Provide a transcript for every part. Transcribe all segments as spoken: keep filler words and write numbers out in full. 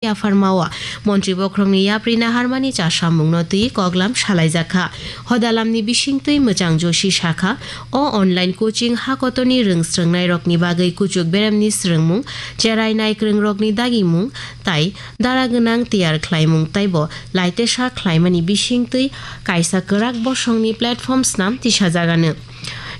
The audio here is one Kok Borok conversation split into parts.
yapharmao montri bokhorokni yapri naharmani chasamungno twi koklam salaijakha. Hodalamni bisingtwi Mwchang Joshi sakha, o online coaching hakotorni rwng srwngnairokni bagwi kuchuk beremni srwngmung, cherai naikwrwngrokni dagimung tai dara gwnang tiyar khlaimung taibo laitesa khlaimani bisingtwi kaisa kwrak bosongni platform snam tisajagano.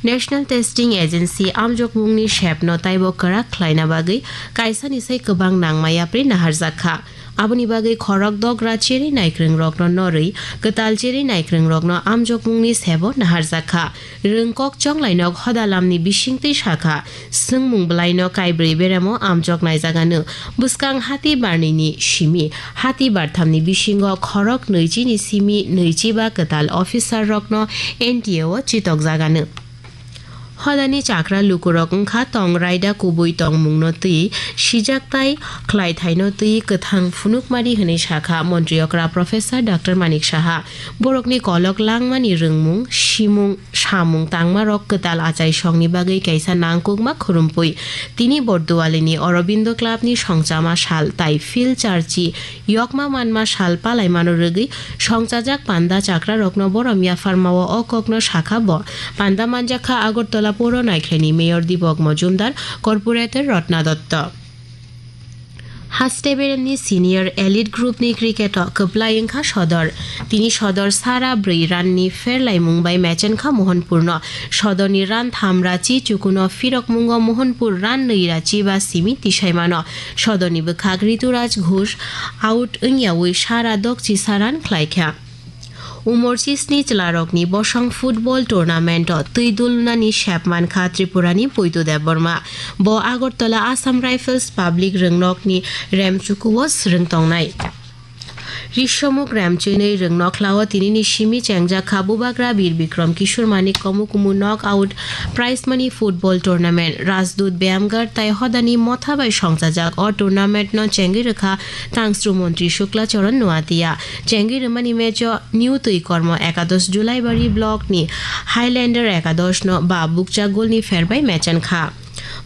National Testing Agency amjokmungni sepno taibo kwrak khlaina bagwi kaisani sai kwbang nangma yapri naharjakha. Aboni bagwi khorok dogra cheri naikwrwngrokno norwi kwtal cheri naikwrwngrokno amjokmungni sebo naharjakha. Rwngkok chonglainok hodalamni bisingtwi sakha, swngmung bwlaino kaibrwi beremo amjok naijagano. Bwskang hati barnini simi hati barthamni bisingo khorok nwichini simi nwichiba kwtal officer rokno N T A o chitokjagano. Hodani chakra lukurok wngkha tong raida kubui tongmungno twi sijak tai khlaithaino twi kwthang phunukmari hwnwi sakha montri okra Professor Doctor Manik Saha. Borokni kolok langmani rwngmung, simung, samung tangmarok kwtal achaisongni bagwi kaisa nangkukma khurumpui. Tini Bordualini Aurobindo Clubni songchama sal tai Phil Charchi yokma manma sal palaimano rwgwi songchajak panda chakrarokno borom yapharmao o kokno sakha bo. Panda manjakha Agartala Poro Naikhlaini Mayor Dibok Mojumdar, Corporator Rotna Dotto. Haste beremni senior elite group ni cricket o kwplai wngkha Sodor. Tini Sodor sara brwi run ni pherlaimung bai mechenkha Mohanpur no. Sodor ni run tham rachi chukuno phirokmungo Mohanpur run nwi rachi ba simi tisaimano. Sodor ni bwkhak Rituraj Ghosh out wngyawi sara dokchi sa run khlaikha. Umor chisni chwlarokni bosong football tournament-o twi dulnani sep mankha Tripurani Poitu Debbarma. Bo Agartala Assam Rifles Public Rwngnokni remchukuo swrwng tongnai. Risomuk remchwinwi rwngnokhlao tinini simi chengjakha Bubagra Bir Bikram Kishore Manik Komukumu Knockout Prize Money Football Tournament. Rajdoot Beyamgar tai hodani motha bai songchajak o tournament-no chengwi rwkha Tangsru Montri Shukla Charan Noatia. Chengwi rwmani match-o New Twi Kormo Ekadosh Julaibari block ni Highlander Ekadosh no ba bukcha gol ni pher bai mechen kha.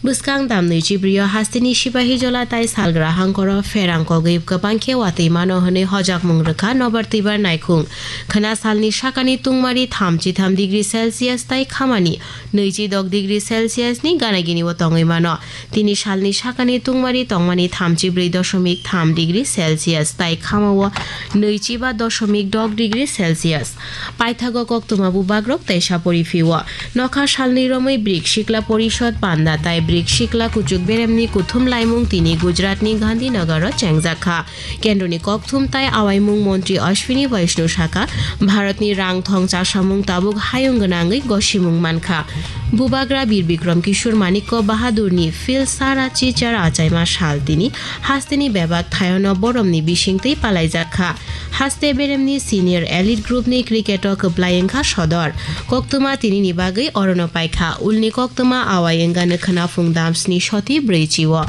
Bwskang damnwi chibrio hasteni Sipahijola tai Salgra hangkoro pherang kogwi kwbang khe watwi mano hwnwi hojakmung rwkha Nobar Twibar Naikhung. Khwna salni sakani tungmari thamchi tham degree Celsius tai khamani nwichi dok degree Celsius ni gana gini o tongwi mano. Tini salni sakani tungmari tongmani thamchi brwi doshomik tham degree Celsius tai khamao nwichi ba doshomik dok degree Celsius. Paithago koktwma bubagrok teisa poriphio. Nokha salni romwi Brik Sikla Porishod panda tai Brik Sikla kuchuk beremni kuthum laimung tini Gujaratni Gandhinagar o chengjak kha. Kendroni kokthum tai awaimung montri Ashwini Vaishnaw sakha, Bharatni rang thong chasamung tabuk hayung gwnangwi gosimung mankha. Bubagra Bir Bikram Kishore Manikko Bahadurni Phil Sara Chichar achaima sal tini hasteni bebak thayono boromni bisingtwi palaijak kha. Haste beremni senior elite group ni cricket o kwplai wngkha Sodor. Koktwma tinini bagwi orono paikha. Ulni koktwma awai wngano khwna phung damsni soti brwi chio.